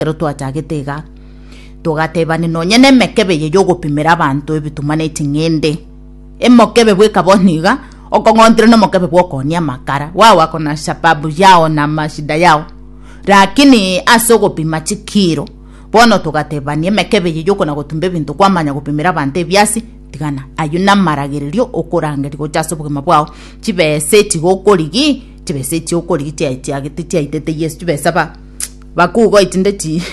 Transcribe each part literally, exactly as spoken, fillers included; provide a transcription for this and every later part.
Ekero twachagete iga, togatebani nonye nemekebe eye yogopimera abanto ebituma ne ching'ende. Emokebe bweka bono iga, okong'ontire nomokebe bwokoonia amakara, wao wako na shababu yao na mashida yao. Lakini ase ogopima chikiro, bono togatebania emekebe eye yokona gotumba ebinto kwamanya gopimera abanto ebiasi, tigana ayio namaragererio okorangeria gocha ase obogima bwao. Chibesa echi gokorigi, chibesa echi okorigi chia chiagete chiaitete Yeso, chibesa ba bakugo echinde chi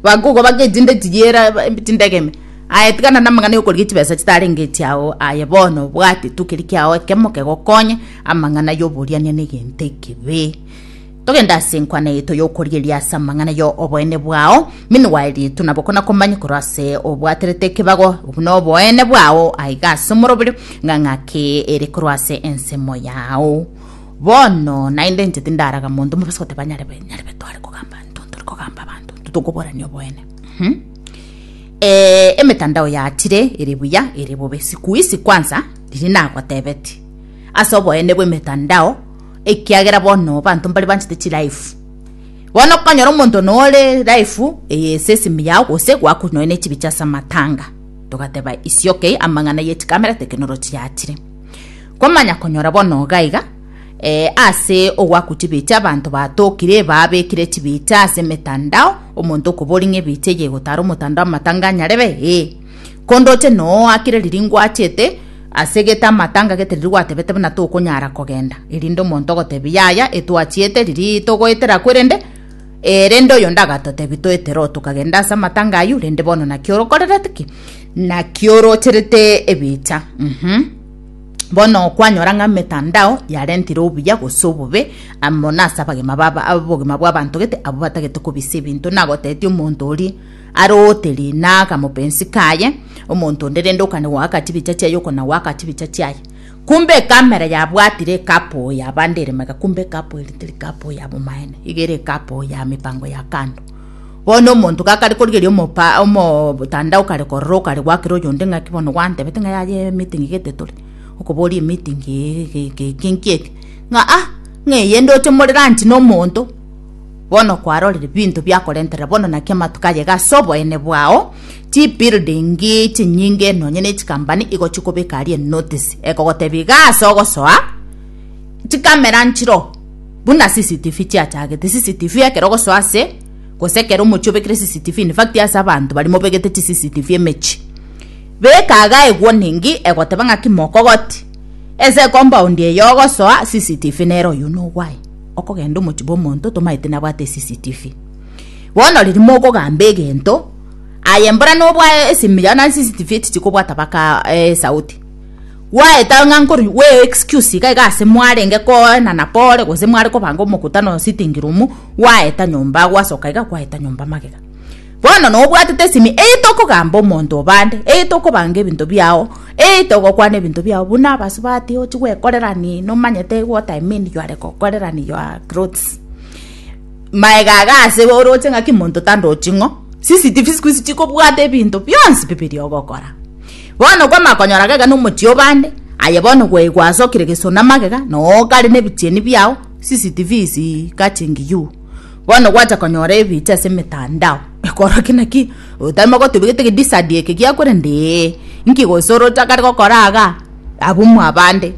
bakugo bake echinde chiyera chindegeme. Aye tigana na amang'ana yokorigia chibesa chitarenge echiao aye bono obwate tu keria kiao ekemo kegokonye amang'ana yoboriania na egento ekebe. Togende ase enkwana yaito yokorigereria ase amang'ana yo oboene bwao. Meanwhile nabo kona komanya korwa ase obwaterete ekebago buna oboene bwao aiga ase omoroberio ng'a ng'aki ere korwa ase ensemo yao. Bono naende inche tindaraga monto mobase goteba nyarebe nyarebe tware kogamba intwe ntore kogamba abanto intwe tokoborania oboene. Mhm. Eh, emetandao yachire ere buya ere bobe siku hizi kwanza riria nagotebeti ase oboene bwa emetandao ekiagera bono abanto mbare banchete chilife bono okonyora omonto nore life eye ase esimi yao gose gwaku nonya ne chibicha ase amatanga togateba is okay amang'ana ye chikamera technology yachire kwamanya konyora bono iga iga eh, ase ogwaku chibicha abanto batokire babekire chibicha ase emetandao omonto okobori ng'a ebicha eye egotara omotandao amatanga anyarebe eh kondoche noakire riria ngwachete ase gete amatanga gete riria gwatebete buna tokonyara kogenda erinde omonto ogotebi yaya etwachiete riria togoetera kwerende eh, rende oyo ndagatotebi toetere oo tokagenda ase amatanga aywo rende bono naki orokorerete ki naki orocherete ebicha mhm bono kwanyora ng'a emetandao yarentire obuya gose obobe amo nase abagima baba obogima bwa abanto gete abwo batagete kobisa ebinto nagotetia omonto oria aroteri na akamopensi kaye omonto onde rende okane goaka chibicha chiaye okona goaka chibicha chiaye kumbe ekamera yabwatire ekapo yabande ere magega kumbe ekapo eri teri kapo ya bomaene iga ere ekapo ya mipango ya kando bono omonto gakare korigeria omopa omotandao kare korora okare goakera oyonde ng'aki bono gwantebete ng'a yaye emeeting gete tore okoboria emeeting eke nki eke ng'a ah ng'a eye ndoche more lunch na omonto bono kwarorire binto biakorenterera bono naki amatuko aye iga ase oboene bwao chibuilding chinyinge nonye na echikampani igo chikobeka aria enotice ekogotebia iga ase ogosoa chikamera nchiro buna C C T V chiachagete C C T V ekero ogosoa ase gose ekero omochie obekire C C T V, in fact ase abanto baria mobegete chi C C T V emechi beka iga ewarning egoteba ng'aki mokogoti ase ecompound eye ogosoa C C T V nere oywo nogwaye okogenda omochie bwa omonto tomaete nabwate C C T V. Bono riria mokogamba egento aye mbora nobwae esimi yao na C C T V echi chikobwata baka esauti gwaeta ng'a nkoru we excuse iga iga ase mwarenge koenana pore gose mware kobanga omokutano sitting room gwaeta nyomba gwasoka iga gwaeta nyomba magega bono nobwatete esimi eye tokogamba omonto obande eye tokobanga ebinto biao eye togokwana ebinto biao buna abasubati ochi gwekorerani nomanyete what I mean, you are gokorerani your clothes maega iga ase oroche ng'aki monto tandochi ng'o C C T V siku hizi chikobwata ebinto bionsi pi biria ogokora. Bono kwamanya konyora iga iga na omochie obande aye bono gwe gwasokire gesona magega noo kare na ebichieni biao C C T V is catching you. Bono gwacha konyora ebicha ase emetandao ekorokia naki otarimo gotebia gete gedisadi eke giakorende ee nki gose oroche akare gokora iga abwo mwabande.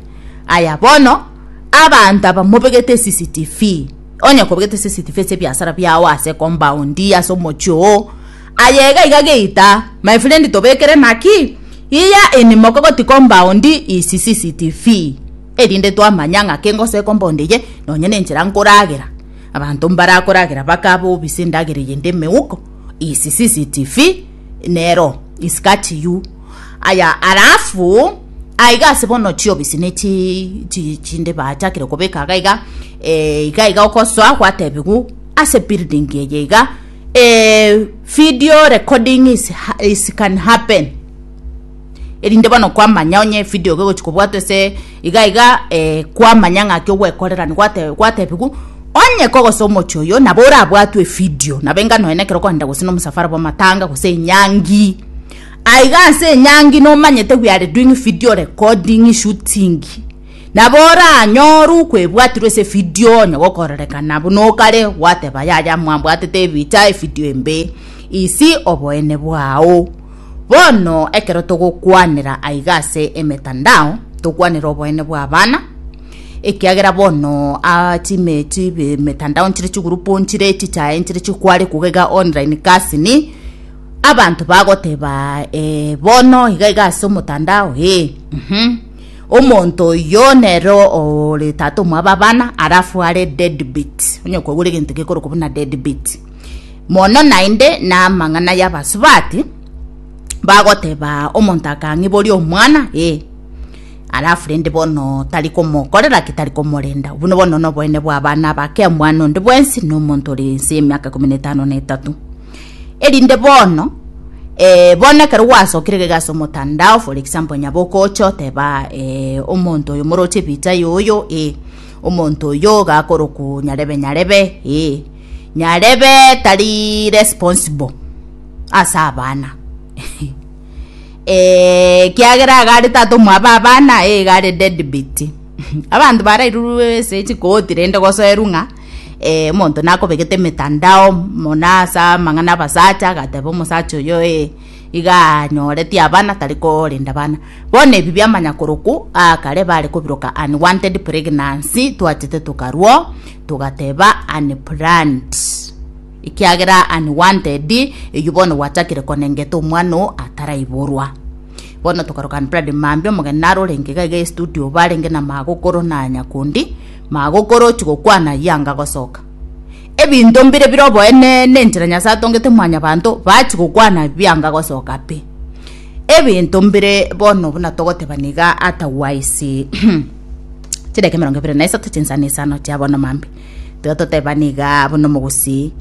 Aya bono abanto aba mobegete C C T V onye kobegete C C T V ase ebiasara biao ase ecompound ase omochie oo aye iga iga geita my friend tobekere naki iya in Mokogoti compound is C C T V erinde twamanya ng'aki ngosoa ecompound eye nonye na enchera nkoragera abanto mbarakoragera baka obisa endagera eyende emeuko is C C T V nero is catch you. Aya alafu aiga ase bono chiobisi ne chi chi chinde bachakire kobeka iga iga eh, iga iga okosoa gwatebiwu ase building eye iga eh, video recording is, is can happen erinde bono kwamanya onye video gegochi kobwatwa ase iga iga eh, kwamanya ng'aki ogwekorerani gwate gwatebiwu onye kogosa omochie oyo nabo orabwatwe evideo nabo enga nonya ekero okogenda gose na omosafara bwa amatanga gose enyangi aiga ase enyangi nomanyete we are doing video recording, shooting. Nabo oranyoru kwebwatirwe ase evideo onye gokorerekana buna okare gwateba yaya mwambwatete ebicha evideo embe isi oboene bwao. Bono ekero togokwanera aiga ase emetandao tokwanera oboene bwa abana ekiagera bono ah, chime chibe mitandao nchire chigurupu nchire chichae nchire chikware kugega online kasini abanto bagoteba eh, bono iga iga ase omotandao eh, mhm. Omonto oyo nero ore tata omwabo abana alafu are deadbeat onye kwagure egento gekorokwa buna deadbeat mono naende na amang'ana ya abasubati bagoteba omonto akang'iboria omwana eh alafu rende bono tari komokorera ki tari komorenda buno bono noboene bwa abana abake omwana onde bwensi na omonto ore nse emiaka ikomi na etano na etato erinde bono eh, bono ekero gwasokire gega ase omotandao for example nyaboka oche oteba eh, omonto oyo moroche ebicha yoyo eh, omonto oyo gakoroku nyarebe nyarebe eh, nyarebe tari responsible ase abana eh, kiagera agare tata omwabo abana eh, gare deadbeat abanto barairurwe ase chikoti rende gosoerwa ng'a eh, omonto nakobegete emetandao mono ase amang'ana abasacha agateba omosacha oyo eh, iga anyoretie abana tari korenda bana bono ebi biamanya koroku akare bare kobiroka unwanted pregnancy twachete tokarwo togateba unplanned ikiagera unwanted eywo bono gwachakire konengeta omwana oo ataraiborwa bono tokaroka unplanned mambia omogeni naro orenge iga iga estudio barenge na magokoro na nyakundi magokoro chigokwana yanga gosoka ebinto mbire bire oboene na enchera nyasaye atongete mwanyabanto bachigokwana bianga gosoka pi ebinto mbire bono buna togoteba niga otherwise chideke emerongo ebere na isato chinsana isano chia bono mambi tiga toteba niga bono mogosi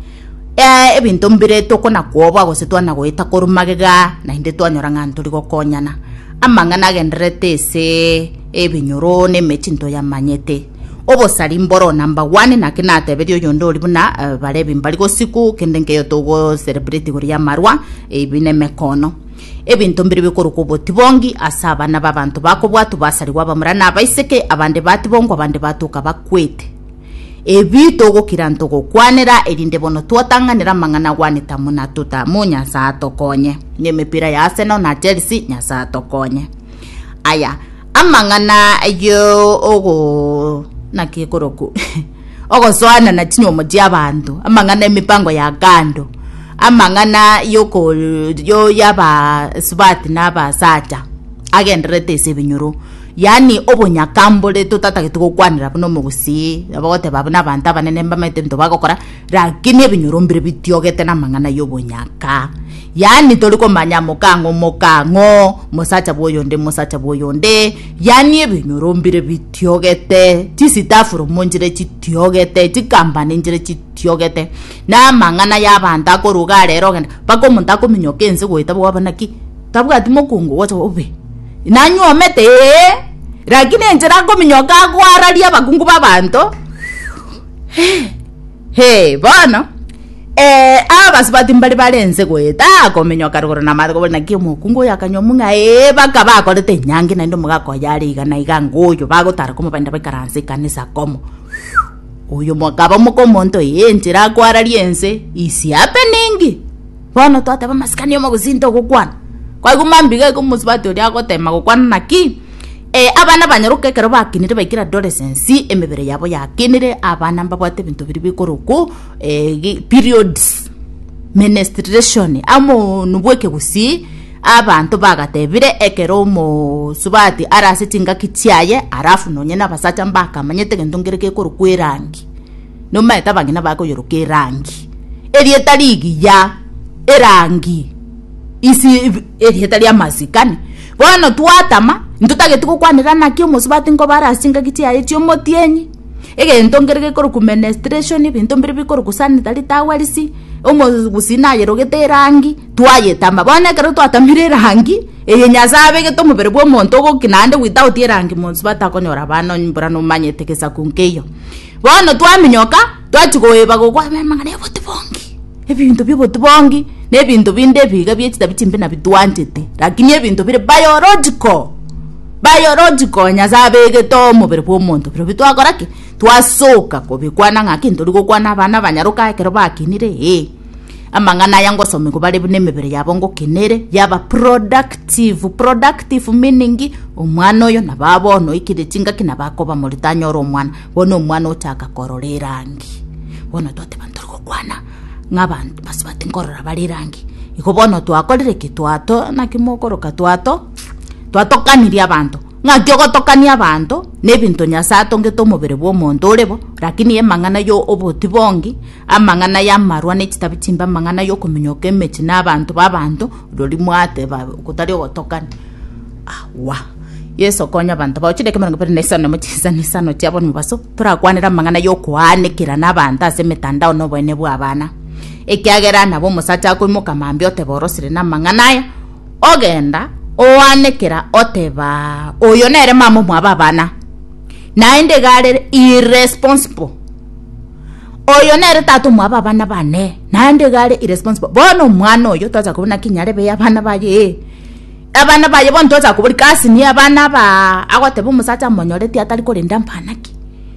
eh, ebinto mbire tokona kuoboa gose twana goeta korwa magega naende twanyora ng'a ntori gokonyana amang'ana agenderete ase ebinyoro na emechinto yamanyete obosari mboro number one naki nateberia oyonde ori buna uh, barebi mbari gosiku kende nkeyo togo celebrate igoro ya amarwa ebi na emekono ebinto mbire bikorokwa obotibongi ase abana ba abanto bakobwatwa basarigwa abamura na abaiseke abande batibongwa abande batoka bakwete ebi togokira ntogokwanera erinde bono twatang'anera amang'ana gwaneta muna tutamu nyasaye atokonye na emipira ya Arsenal na Chelsea nyasaye atokonye aya amang'ana yo ogo naki ekoroku ogosoana na chinyomo chia abanto amang'ana emipango ya kando amang'ana yoko yo yabasubati na abasacha agenderete ase ebinyoro yaani obonyakambore totatagete gokwanera buna omogusii bagoteba buna abanto abanene mbamaete ebinto bagokora lakini ebinyoro mbire bitiogete na amang'ana ya obonyaka yaani tori komanya mokang'o mokang'o mosacha bwa oyonde mosacha bwa oyonde yaani ebinyoro mbire bitiogete chisitafuru nchire chitiogete chikambani nchire chitiogete na amang'ana ya abanto akoruga rero ogenda mpaka omonto akominyoka ense goeta bwaba naki tabwati mokungu gocha obe nanyuomete ee lakini enchera akominyoka akwararia abakungu ba abanto he bono eh abasubati mbari barense goeta akominyoka rugoro na mathe kobori naki omokungu oyo akanywa mung'a ee baka bakorete enyangi naende omogaka oyo are iga na iga ngoyo bagotara komo baenda baikaranse ekanisa komo oyo mokaba moka omonto ee enchera akwararia ense is happening bono twateba amasikani omogusi ntogokwana kwaigwa mambiga iga omosubati oria agotema gokwana naki eh, abana banyaroka ekero bakinire baikire adolescence emebere yabo yakinire abana mbabwate ebinto biri bikoroku eh, gi- periods menstruation amo bwa ekegusii abanto bagatebire ekero omosubati arase chingaki chiaye alafu nonye na abasacha mbakamanyete egento nkere gekorokwa erangi nomaete abang'ina bakoyoroka erangi erieta rigiya erangi isi erieta ria amasikani bono twatama ntotagete gokwanera naki omosubati nkoba arase chingaki chiaye chiomotienyi egento nkere gekorokwa menstruation ebinto mbire bikorokwa sanitary towels omogusii nayerogete erangi twayetama bono ekero twatamire erangi eye nyasaye abegete omobere bwa omonto ogoki naende without erangi mosubati akonyora abana mbura nomanyete gesaku nkeiyo bono twaminyoka twachigoeba gokwa amang'ana ya obotibongi ebinto bia obotibongi na ebinto binde ebiga bia chitabi chimbe nabitwanchete lakini ebinto bire biological Biological Nyasaye abegete omobere bwa omonto biro bitwakora ki twasoka kobikwana ng'aki ntori gokwana abana banyaroka ekero bakinire eh amang'ana aya ngosomigwa bare buna emebere yabo ngokenere yaba productive. Productive meaning omwana oyo nabo bono oikire chingaki nabo akoba morito anyore omwana bono omwana ochaka korora erangi bono twateba ntori gokwana ng'abanto basubati nkorora bare erangi igo bono twakorire ki twato naki mokoroka twato twatokanirie abanto ng'aki ogotokania abanto na ebinto Nyasaye atongete omobere bwa omonto ore bo lakini emang'ana yo oboti bongi amang'ana ya amarwa na echitabi chimbe amang'ana ya okominyoka emechi na abanto ba abanto rori mwateba kotari ogotokania awa Yeso konya abanto bao chideke emerongo ebere na isano nemo chisani isano chiabo mobaso torakwanera amang'ana ya okoanekera na abanto ase emetandao na oboene bwa abana ekiagera nabo omosacha akoimoka mambia oteba orosire na amang'ana aya ogenda oanekera oteba oyo nere mama omwabo abana naende iga irresponsible oyo nere tata omwabo abana bane naende iga irresponsible bono omwana oyo twacha kobuna kinyarebe abana baye abana baye bono twacha kobori kasi ni abana ba agoteba omosacha amonyoreti atari korenda mpanaki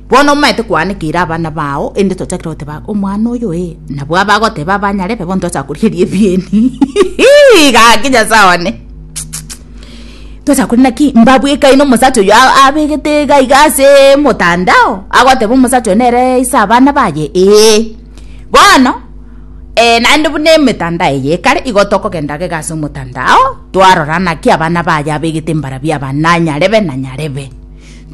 bono omanyete kwanekera abana bao ende twachakire goteba omwana oyo eh nabwo abagoteba abanyarebe bono twacha korigeria ebieni gaki Nyasaye one twacha kori naki mbabwekaine omosacha oyo abegete iga iga ase motandao agoteba omosacha oyo nere ase abana baye ee bono eh, naende buna emetandao eye ekare igo tokogenda gega ase omotandao twarora naki abana baye abegete mbarabia abana nyarebe na nyarebe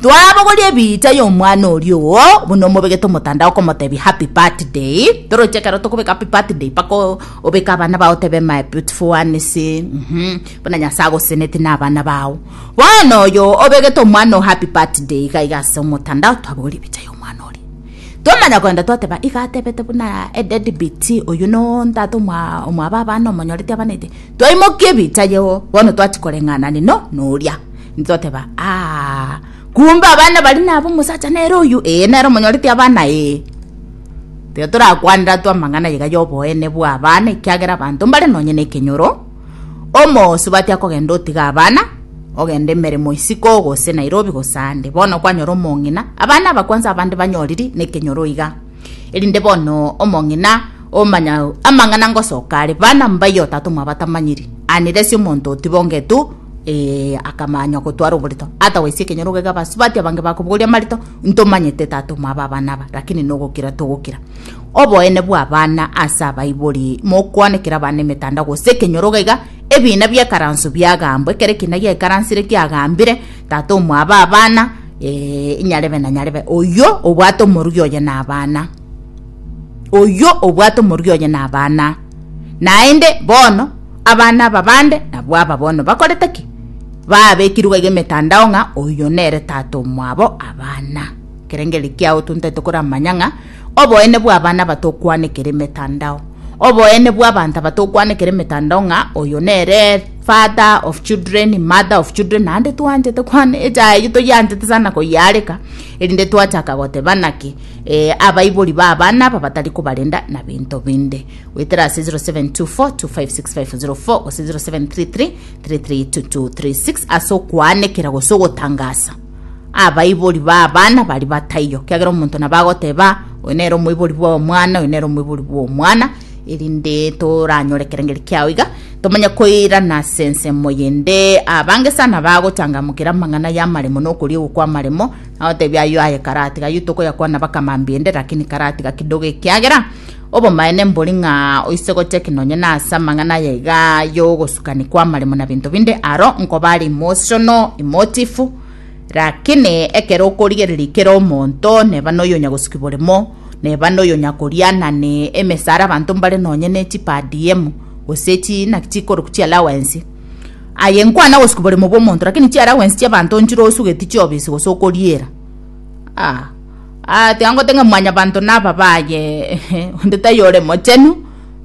twabogoria ebicha ya omwana oria oo buna omobegete omotandao okomotebia happy birthday toroche ekero tokobeka happy birthday mpaka obeke abana bao otebe my beautiful ones mhm buna Nyasaye agoseneti na abana bao bono oyo obegete omwana o happy birthday iga iga ase omotandao twabogoria ebicha ya omwana oria twamanya kogenda twateba iga atebete buna edeadbeat oyo no ntata omwa omwabo abana omonyoreti abanete twaimokia ebicha yeo bono twachikoreng'anani no noria ntoteba ah kumbe abana bari nabo omosacha nere oyu ee nere omonyoreti abana ee tiga torakwanera twamang'ana iga ya oboene bwa abana ekiagera abanto mbare nonye na ekenyoro omosubati akogenda otiga abana ogenda emeremo isiko gose Nairobi gose ande bono kwanyora omong'ina abana aba kwanza abande banyoriri na ekenyoro iga erinde bono omong'ina omanya amang'ana ngosoka are bana mbayo tata omwabo atamanyiri aniresi omonto otibongetu eh, akamanya gotwara oborito ata goisia ekenyoro gega basubati abange bakobogoria amarito ntomanyete tata omwabo abana aba lakini nogokira togokira oboene bwa abana ase abaibori mokwanekera abana emetandao gose ekenyoro gaiga ebina biekaranso biagambwa ekere ekina giekaransire kiagambire tata omwabo abana eh, inyarebe na nyarebe oyo obwate omorugi oye na abana oyo obwate omorugi oye na abana naende bono abana aba bande nabwo aba bono bakorete ki babekirwe iga emetandao ng'a oyo nere tata omwabo abana kerengeri kiao tuntaete koramanya ng'a oboene bwa abana batokwanekera emetandao oboene bwa abanto abatokwanekera emetandao ng'a oyo nere father of children mother of children naende twanchete kwana echaye toyanchete sana koyareka erinde twachaka goteba naki eh, abaibori ba abana aba batari kobarenda na binto binde wetera ase zero seven two four two five six five zero four gose zero seven three three three three two two three six ase okwanekera gose ogotangasa abaibori ba abana bari bataiyo kiagera omonto nabo agoteba oyo nere omoibori bwa omwana oyo nere omoibori bwa omwana erinde toranyore kerengeri kiao iga tomanye koirana ase ensemo yende abange sana bagochangamukera amang'ana ya amaremo na okoria ogokwa amaremo agotebia ayo aye karatiga ayo tokoyakwana bakamambia ende lakini karatiga kidogo ekiagera obomaene mbori ng'a oise gocheki nonye na ase amang'ana aya iga yogosukani kwa amaremo na binto binde aro nkoba are emotional emotive lakini ekero okorigereria kera omonto neba noyo nyagosuki boremo neba noyo nyakorianane emesara abanto mbare nonye ne chi per diem gose chi naki chikoroku chi allowance aye nkwana gosuki boremo bwa omonto lakini chi allowance chia abanto nchire osugeti chiobisi gose okoriera ah ah tiga ng'a mwanyabanto naba baye onde tayore mochenu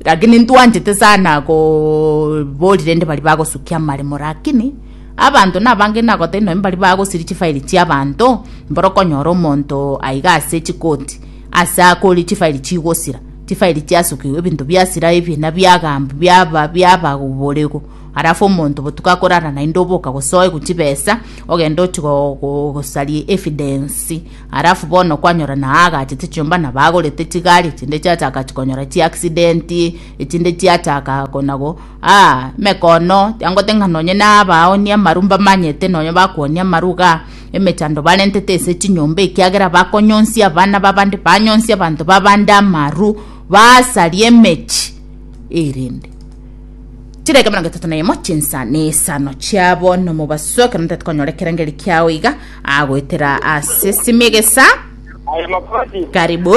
lakini ntwanchete sana koborire ende bari bagosukia amaremo lakini abanto nabange nagote noe mbari bagosiri chifaili chia abanto mboro okonyora omonto aiga ase chikoti ase akori chifaili chigosira chifaili chiasukiwe ebinto biasira ebina biagamba biaba biababorego Alafu omonto botuko akorara naende oboka gosoe gochibesa ogende ochi go- go- gosaria evidence. Alafu bono kwanyora na agachete chinyomba na bagorete chigari chinde chiachaka chikonyora chiaccident, echinde chiachaka konago ah mekono angote ng'a nonye na abaonia amaru mbamanyete nonye bakuonia amaru igaa emechando barentete ase chinyomba ekiagera bakonyonsia abana babande, banyonsia abanto babande amaru, basaria emechi erinde chireke mirongo etato na emo chinsa na isano chiabo nomobaso ekero ntete konyora ekerengeri kiao iga agoetera ase simigesa. Aya Mokogoti. Karibu.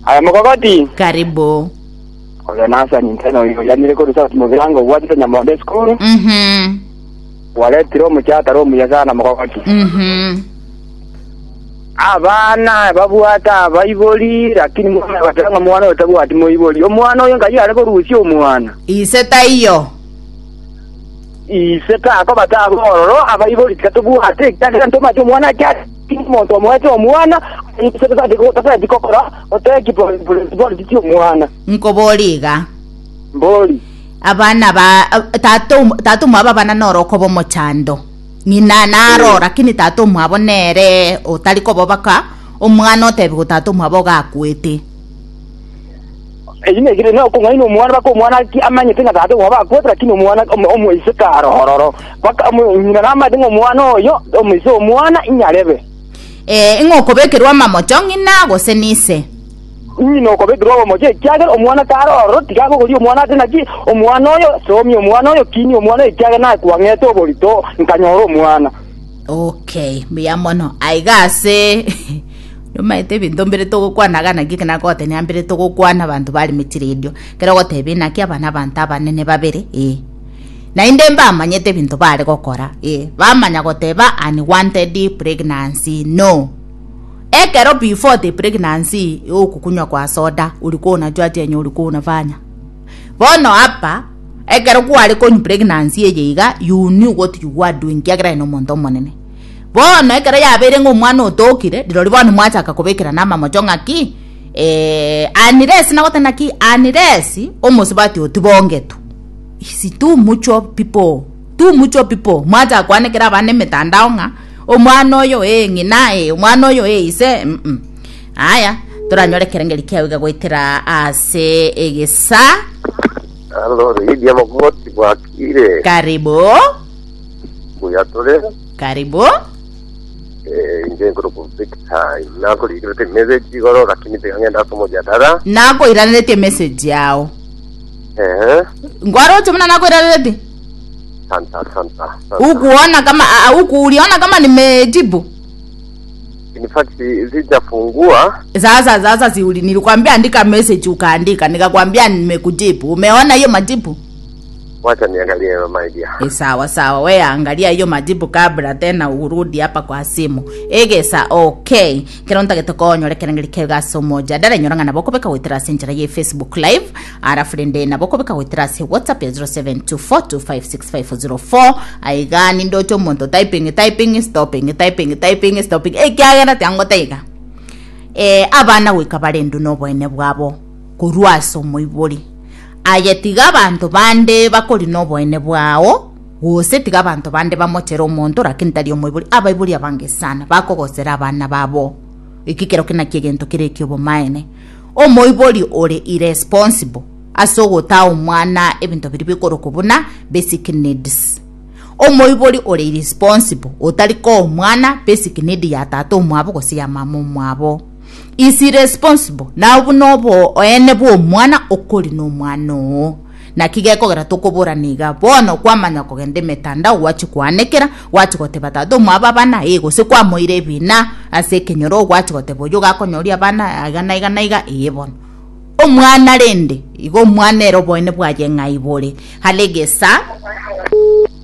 Aya Mokogoti. Karibu. Oyo nasa ninteno oyo yanire korusa mubirango gwatite Nyamonde school. Mhm. Waretire omuchataro omuya sana Mokogoti. Mhm. Abana babwata abaibori lakini mwana batanga mwana otabwati moibori. Omwana oyo ngai are korusia omwana. Ise taiyo. Ise tako batabororo abaibori tikatobwate kyagera ntomache omwana kya omonto omwete omwana ise tasati kokora oteki politiki omwana. Nkoboriga. Mbori. Abana ba tato tato mwaba bana noroko bomochando. Ng'ina naro lakini tato mwabo nere otari kobobaka omwana otebi tato mwabo gakwete. Eyine gire no kung'aina omwana bako omwana ki amanyete nga tato mwabo akwete lakini omwana omoise karohororo baka ng'ina namate ng'omwana oyo omoise omwana inyarebe. Eh ing'okobekerwa mamocho ng'ina gose nise. Ng'ina okobekerwa mamocho ekiagera omwana karororo tigagogori omwana ate naki omwana oyo somi omwana oyo kini omwana oyo ekiagera nakwang'ete oborito nkanyora omwana. Okay, mbuya mono aigase nomaete ebinto mbere togokwanaga naki nagote niambere togokwana abanto bari mechiradio kero gotebia naki abana abanto abanene babere eh nainde mbamanyete ebinto bare gokora eh bamanya goteba unwanted pregnancy no ekero before the pregnancy okukunywa kwa soda ulikuwa unajua chenye ulikuwa unafanya bono hapa ekero kware konywa pregnancy eye iga you knew what you were doing kiagera ino omonto omonene bono ekero yabere ng'omwana otokire rirori bono mwachaka kobekera na amamocho ng'aki eh unless nagote naki unless omosubati otibongetu is too much of people too much of people mwacha kwanekera abana emetandao ng'a omwana oyo eh ng'ina eh omwana oyo eh ise mm -mm. Aya toranyore kerengeri kiao goetera ase egesa. Allo Lydia Mokogoti bwakire. Karibu. Buyatore. Karibu. Eh inje ngoro Victor nakorigirete message igoro lakini tigang'enda ase nakoiraneretie message yao. Eh ngwaroche muna nakoiraneretie santa santa. Ukuona kama huku uliona kama nimejibu? In fact sijafungua. Sasa sasa si uli nilikwambia andika message ukaandika nikakwambia nimekujibu. Umeona hiyo majibu? Wacha niangalie my dear. E, sawa sawa we angalia hiyo majibu kabla tena urudi hapa kwa simu. Egesa okay. Kero ntagete konyore kerengeri kega somoja. Dara nyoranga naboko beka wetera senjera ye Facebook live. Ara friend naboko beka wetera se WhatsApp ya zero seven two four two five six five zero four. Aiga ni ndocho monto typing typing stopping typing typing stopping. E kyagera tango taiga. Eh abana wika barendu noboene bwabo kurwaso moibori. Aye tiga abantu bande bakori noboene bwao gose tiga abantu bande bamochera omonto lakini tari omoibori abaibori abange sana bakogosera abana babo ikikero kina kiegento kire kiobomaene omoibori ore irresponsible asogota omwana ebinto biri bikoroko buna basic needs omoibori ore irresponsible otariko omwana basic need ya tata omwabo gose ya mama omwabo is irresponsible na bunobo oene bo omwana okori no mwana o na kigekogera tokoboraniga bono kwamanya kogenda emetandao gwachikwanekera gwachigoteba tata omwabo abana eh gose kwamoire ebina ase ekenyoro gwachigoteba oyo gakonyoria abana iga na iga na iga eh bono omwana rende igo omwana ero boene bwaye ng'aibore halegesa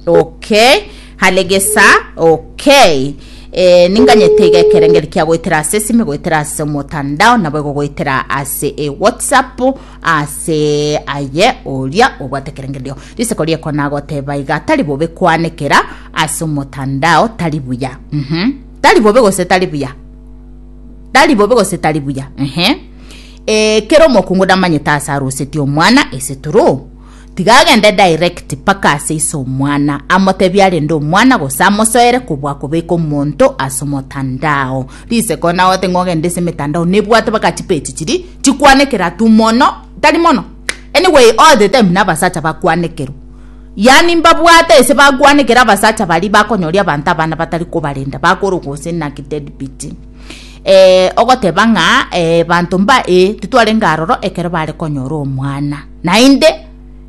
okay halegesa okay eh ninganyete ekerengeri kia goetera ase esime goetera ase omotandao nabo goetera ase e WhatsApp ase aye oria obwate kerengerio riseko rieko nagoteba iga tari bobe kwanekera ase omotandao tari buya mhm tari bobe gose tari buya tari bobe gose tari buya ehe eh kero mokungu damanyete ase aruseti omwana ese turu Tigagende direct paka ase ise omwana amotebia arende omwana gose amosoere kobua kobeka omonto ase omotandao. Riseko nagote ng'ogende ase emetandao nebwate baka chipeji chiri chikwanekera tu mono tari mono anyway all the time na abasacha bakwanekerwa yaani mbabwate ase bakwanekera abasacha bari bakonyoria abanto abana batari kobarenda bakoroka gose naki deadbeat. Eh, ogoteba ng'a eh, banto mba eh, titwarenge aroro ekero bare konyora omwana naende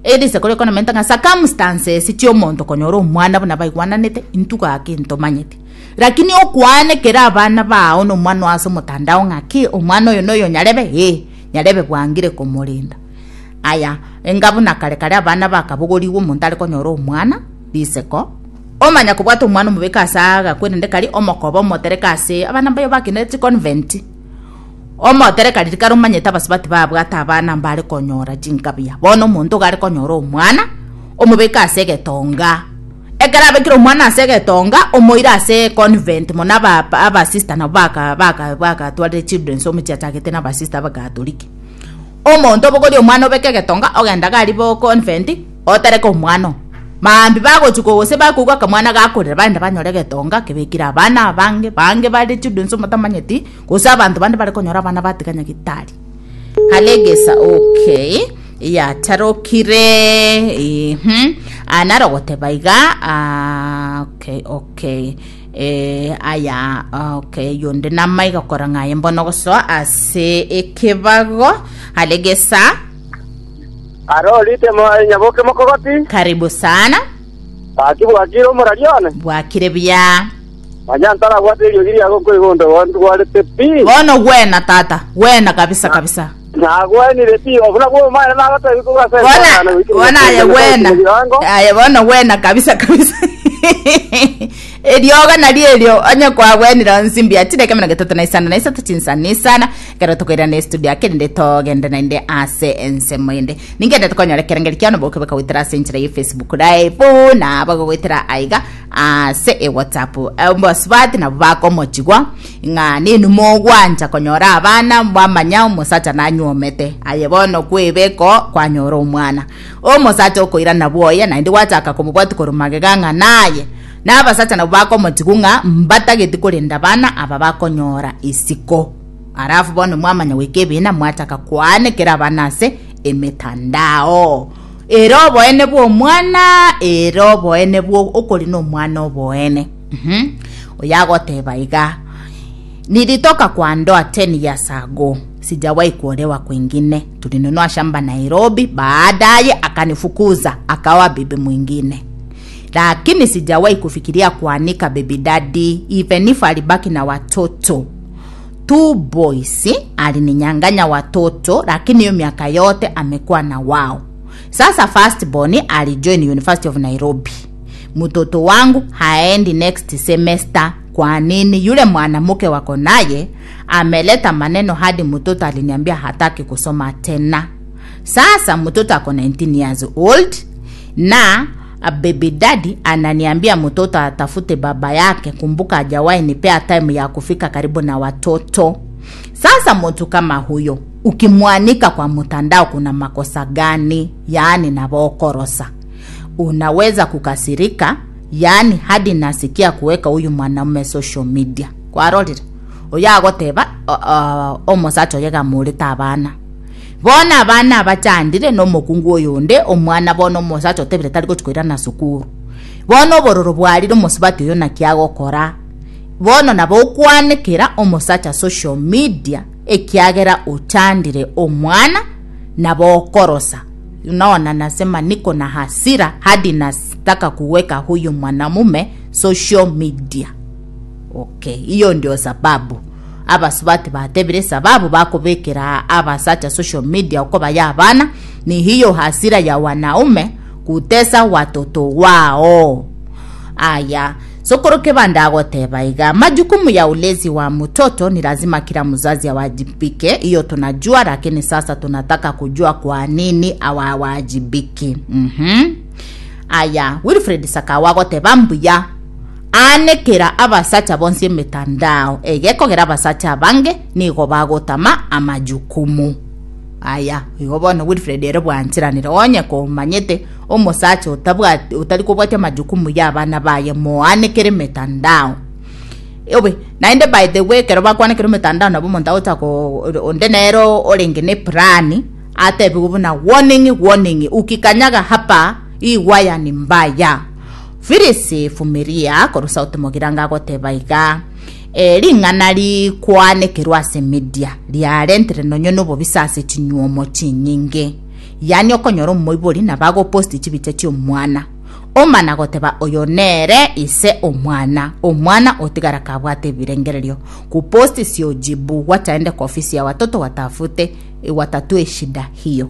eriseko rikonomenta ng'a circumstances chia omonto konyora omwana buna baigwananete intugake ntomanyete lakini okwanekera abana bao na omwana ase omotandao ng'aki omwana oyo noyo nyarebe eh, nyarebe bwangire komorinda. Aya enga buna kare kare abana bakabogoriwa omonto are konyora omwana riseko omanya kobwata omwana omobeka ase agakwerende kari omokoba omotereka ase abana mbayo bakinete chiconvent omotereka riri kare omanyete abasubati babwate abana mbare konyora chinkabia bono omonto iga are konyora omwana omobeka ase egetonga ekero abekire omwana ase egetonga omoire ase convent mono aba abasista nabo baka baka bakatwarire children's home chiachagete na abasista abakatoliki omonto obogoria omwana obeke egetonga ogenda gari bo convent otereke omwana oo maambi bagochuka gose bakoigwa akamwana gakorera baenda banyora egetonga kebekire abana abange bange bare children's home otamanyeti gose abanto bande bare konyora abana batiga nyagitari halegesa okay yatarokire mhm anarogoteba iga ah, okay okay eh, aya okay yonde namaiga kora ng'aye mbono gosoa ase ekebago halegesa. Aro rite mo nyaboke mokogoti. Karibu sana. Baki bwakire omorarione. Bwakire buya. Manyantara bwate eriogi riago koigondo gwarete pi. Bono gwena tata gwena kabisa kabisa. Nagwenire pi obuna bwo omwana nagotebi kogasa. Bona bona aye gwena aye bono gwena kabisa kabisa erioga nari erio onye kwagwenire nsimbi achireke mirongo etato na isano na isato chinsana isana ekero tokoirana estudio akerinde togende naende ase ensemo ende ningende tokonyora ekerengeri kiano bokebeka goetera ase enchera ya Facebook live na bagogoetera aiga ase ewhatsapp mbasubati nabo bakomochigwa ng'a ninu mogwancha konyora abana mwamanya omosacha nanywomete aye bono kwebeko kwanyora omwana omosacha okoirana bwoye naende gwachaka komobwati korwa magega ng'a naye na abasacha nabo bakomochigwa ng'a mbatageti korenda bana aba bakonyora isiko alafu bono mwamanya goika ebina mwachaka kwanekera abana ase emetandao ero oboene bwa omwana ero oboene bwa okori na omwana oboene. Mhm. Oyagoteba iga nilitoka kwa ndoa ten years ago sijawahi kuolewa kwingine tulinunua shamba Nairobi baadaye akanifukuza akawa bibi mwingine lakini sijawahi kufikiria kuanika baby daddy even if alibaki na watoto two boys alininyang'anya watoto lakini hiyo miaka yote amekuwa na wao. Sasa first born alijoin University of Nairobi mtoto wangu haendi next semester kwa nini yule mwanamke wako naye ameleta maneno hadi mtoto aliniambia hataki kusoma tena. Sasa mtoto ako nineteen years old na a baby daddy ananiambia mtoto atafute baba yake kumbuka hajawahi nipea time ya kufika karibu na watoto. Sasa mtu kama huyo ukimwanika kwa mtandao kuna makosa gani? Yaani nabokorosa unaweza kukasirika yaani hadi nasikia kuweka huyu mwanamume social media kwarorire oyo agoteba uh, omosacha oyo gamurete abana bona abana abachandire na omokungu oyo onde omwana bono omosacha otebire tari gochikoira na sukuru bono obororo bwarire omosubati oyo naki agokora bono nabo okwanekera omosacha social media ekiagera ochandire omwana nabo okorosa. Unaona, nasema niko na hasira hadi nataka kuweka huyu mwanamume social media. Okay hiyo ndio sababu abasubati batebire sababu bakubikira abasacha social media uko ya abana ni hiyo hasira ya wanaume kutesa watoto wao. Aya sokoro kebanda agoteba iga majukumu ya ulezi wa mtoto ni lazima kila mzazi awajibike hiyo tunajua lakini sasa tunataka kujua kwa nini awawajibiki. Mhm aya Wilfred Sakawa agoteba mbuya anekera abasacha bonsi emitandao egekogera abasacha abange nigo bagotama amajukumu. Aya igo bono Wilfred ere bwanchiranire onye komanyete omosacha otabwati otari kobwatia majukumu ya abana baye moanekere mitandao obe. Naende by the way, ekero bakwanekera omitandao nabo omonto agocha ko onde nero orenge ne plani atebiwe buna warning, warning, ukikanyaga hapa hii waya ni mbaya. Phyllis Fumiria korwa Sauti Mogiranga agoteba iga e, ring'ana rikwanekerwa ase media riarentire nonye nobobisa ase chinywomo chinyinge, yani okonyora omoibori nabo agoposti chibicha chia omwana omana goteba oyo nere ise omwana, omwana otigara kabwate ebirengererio. Kuposti sio jibu, wachaende kwa ofisi ya watoto watafute eh, watatue shida hiyo.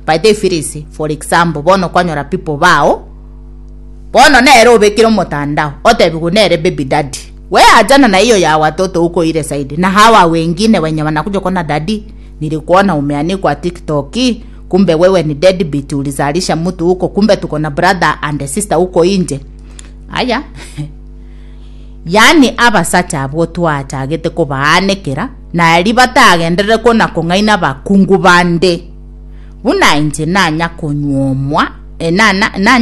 By the way, Phyllis, for example, bono kwanyora people bao bono nere obekire omotandao otebigu nere baby daddy, we achana na hiyo ya watoto huko ile side, na hawa wengine wenye wanakuja kuona, "Daddy, nilikuona umeanikwa TikTok, kumbe wewe ni deadbeat, ulizalisha mtu huko, kumbe tuko na brother and sister huko inje." Aya, yani abasacha abwo twachagete kobaanekera nari batagenderere kona kong'aina bakungu bande buna inche nanya konywomwa, eh, nana nanya.